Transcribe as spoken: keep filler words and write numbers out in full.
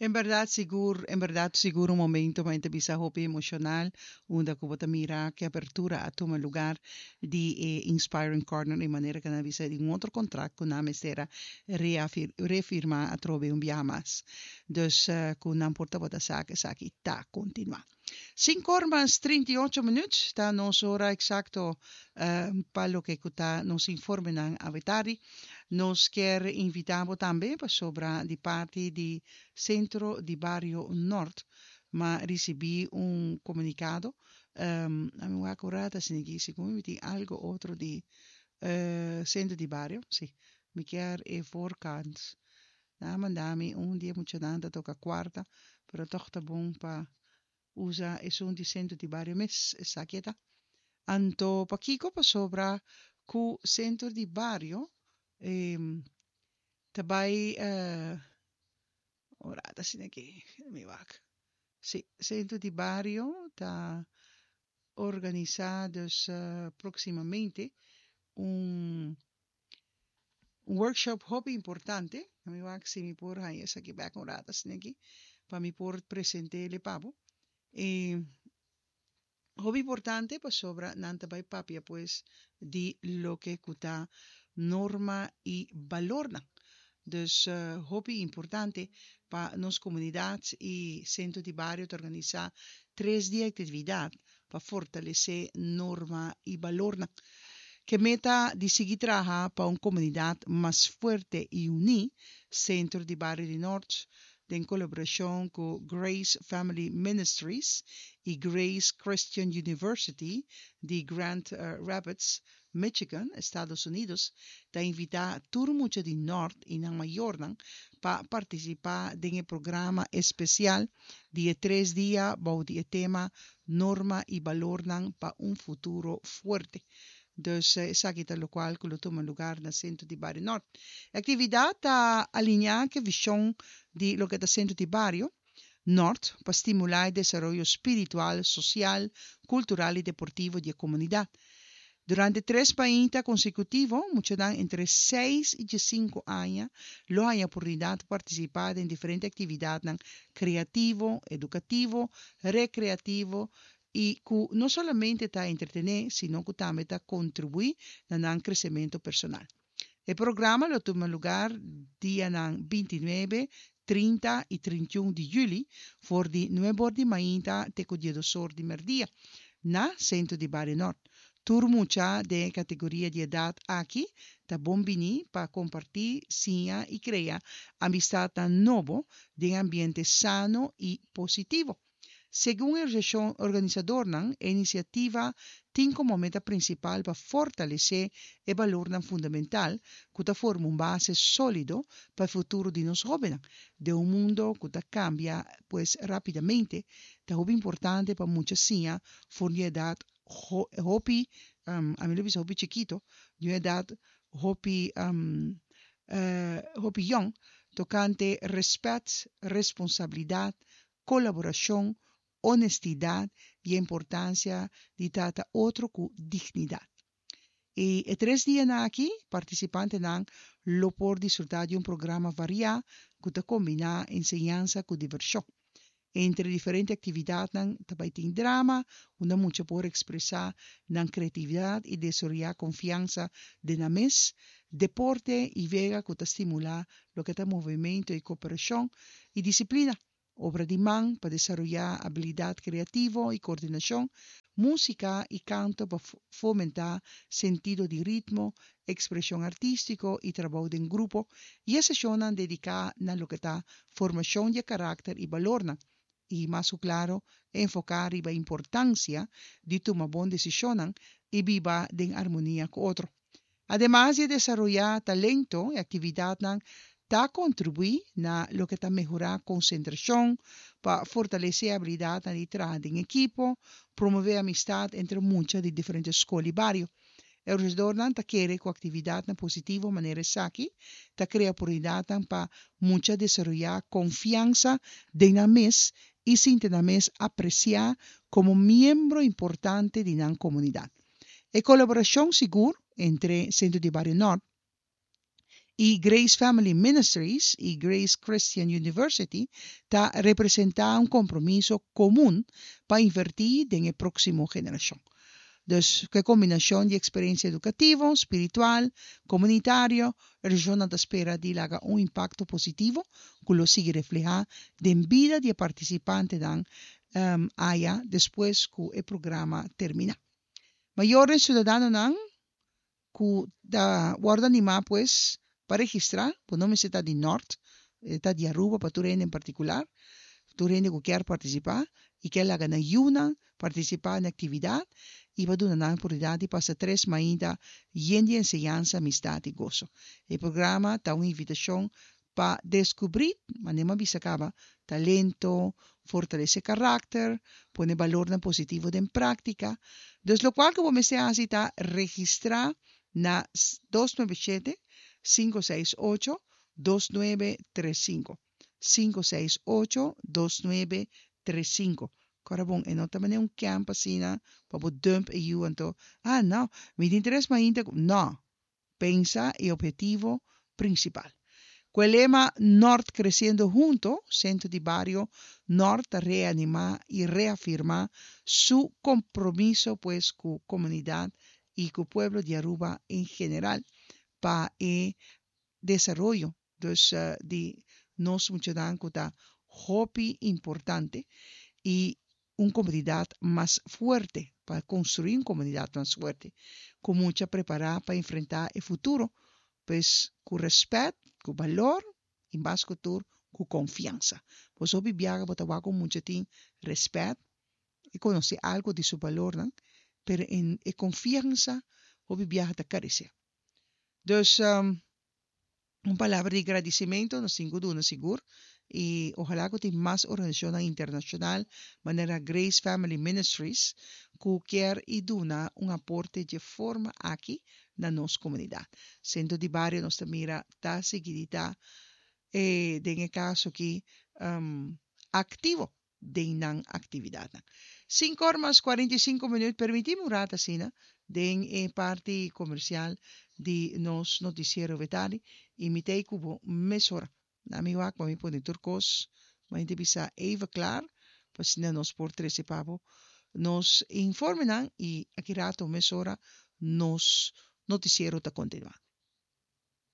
En berdad sigur, en berdad sigur un momento pa bisa hopi emocional, unda cu bo ta mira cu apertura a tuma lugar di eh, Inspiring Corner di manera cu nan a bisa di un otro contract cu nan mester a refirma atrobe un biaha mas. Dus uh, cu nan por tabata sa cu esaki ta continua. Cinco or mas trinta i ocho minuut, ta nos ora exacto uh, pa loke ta nos informenan awe tardi. Nos kier invita bo tambe pasobra di parti di Centro di Bario Noord m'a ricibi un comunicado. Um, ami wak ora asina segun mi tin algo otro di uh, Centro di Bario, si. Mi kier e voorkant. Nan a manda mi un dia muchanan ta toca cuarta, pero toch ta bon pa usa esun di Centro di Bario mes, esaki ta. Anto pakico? Pasobra cu Centro di Bario eh, ta bay uh, ora asina aki, mi wak. Si, Centro di Bario ta organisa dus uh, proximamente un un workshop hopi importante. Mi wak si mi por haña esaki bek un rato asina aki pa mi por present'é pa bo. E hopi importante pasobra nan ta bay papia pues di loke cu ta norma y balornan. Dus uh, hopi importante pa nos comunidad y Centro di Bario ta organisa tres dia actividad pa fortalece norma y balornan. Cu meta di sigui traha pa un comunidad mas fuerte y uni, Centro di Bario di Noord, den colaboracion cu Grace Family Ministries y Grace Christian University di Grand eh, Rapids, Michigan, Estados Unidos, ta invita tur mucha di Noord y nan mayornan pa participa den e programa especial di tres dia bou di tema Norma y Balornan pa un Futuro Fuerte. Dus eh, esaki ta locual cu lo tuma lugar na Centro di Bario Noord. Actividad ta alinea cu vision di loke ta Centro di Bario Noord pa stimula e desaroyo spiritual, social, cultural y deportivo di e comunidad. Durante tres mainta consecutivo, muchanan entre seis y diescinco aña lo haya oportunidad di participa den diferente actividad creativo, educativo, recreativo y cu no solamente ta entretene, sino cu tambe ta contribui na nan crecemento personal. E programa lo tuma lugar dia bintinuebe, trinta y trinta i un di juli, for di nuebe or di mainta te cu diesdos or di merdia, na Centro di Bario Noord. Tur mucha den categoria di edad aki ta bon bini pa comparti, siña y crea amistad nobo den ambiente sano y positivo. Segun e organisador, e iniciativa tin como meta principal pa fortalece e balor fundamental cu ta forma un base solido pa e futuro di nos hobennan. Den un mundo cu ta cambia pues rapidamente, ta importante pa mucha siña for di edad hopi, um, ami lo bisa hopi chikito, di edad hopi, um, uh, hopi jong, tocante respet, responsabilidad, colaboracion, honestidad y importancia di trata otro cu dignidad. E, e tres dia aki, participantenan lo por disfruta di un programa varia cu ta combina enseñansa cu diversion. Entre diferente actividad tambe tin drama, unda mucha por expresa nan creatividad y desaroya confiansa den nan mes, deporte y wega cu ta stimula loke ta movimento y cooperacion y disciplina, obra di man pa desaroya habilidad creativo y coordinacion, musica y canto pa fomenta sentido di ritmo, expresion artistico y trabou den grupo, y sesion dedica na loke ta formacion di caracter y balor, y mas claro, enfoca e importancia di tuma bon decision y biba den armonia cu otro. Ademas di desaroya talento, e actividad ta contribui na loke ta mehora concentracion, pa fortalece habilidad di traha den ekipo, promove amistad entre mucha di diferente scol y bario. E organisadornan ta kere cu actividad positivo manera esaki, ta crea oportunidad pa mucha desaroya confiansa den nan mes y sinti nan mes aprecia como miembro importante di nan comunidad. E colaboracion sigur entre Centro di Bario Noord Y Grace Family Ministries y Grace Christian University ta representa un compromiso comun pa inverti den e proximo generacion. Dus cu combinacion di experiencia educativo, spiritual, comunitario, e region ta spera di laga un impacto positivo cu lo sigui refleha den bida di participantenan um, aya despues cu e programa termina. Mayor ciudadanonan cu ta wordo anima, pues, pa registra, pues no ta di Noord, ta di Aruba, pa tur en particular, tur hende cu kier participa y kier laga nan yiunan participa na actividad y pa duna nan oportunidad di pasa tres mainta yen di enseñansa, amistad y goso. E programa ta un invitacion pa descubri, manera mi a bisa caba, talento, fortalece caracter, pone balor positivo den practica. Dus locual cu bo mester ta registra na dos nuebe siete, cinco seis ocho, dos nuebe tres cinco. cinco seis ocho, dos nuebe tres cinco. Awor bon, e no ta un camp asina, pa dump e yiu anto. Ah, no, mi interes mainta, no. Pensa e obhetivo principal. Cu e lema "Noord Creciendo Hunto", Centro di Bario Noord ta reanima y reafirma su compromiso, pues, cu e comunidad y cu e pueblo di Aruba en general pa e desaroyo, dus, uh, di nos muchanan, ta hopi importante y un comunidad mas fuerte, pa construi un comunidad mas fuerte, cu mucha prepara pa enfrenta e futuro, pues, cu respet, cu balor y mas cu tur, cu confiansa. Pues hopi biaha bo ta wak cu mucha tin respet y conoce algo di su balor, no? Pero en e confiansa hopi biaha ta carece. Dus um, un palabra di agradecimento nos tin cu duna sigur y ohala cu tin mas organisacion internacional manera Grace Family Ministries cu kier y duna un aporte di forma aki na nos comunidad. Centro di Bario nos mira ta sigui ta eh, den caso aki um, activo den nan actividad. cinco or mas cuarenta y cinco minuut, permiti mi un rato asina, den e parti comercial di nos noticiero Vitali, y mi t'ey cu bo mesora. Na mi wak, mi pone tur cos, ma bisa even klaar, pa asina nos por trece pa bo nos informenan y aki rato mesora nos noticiero ta continua.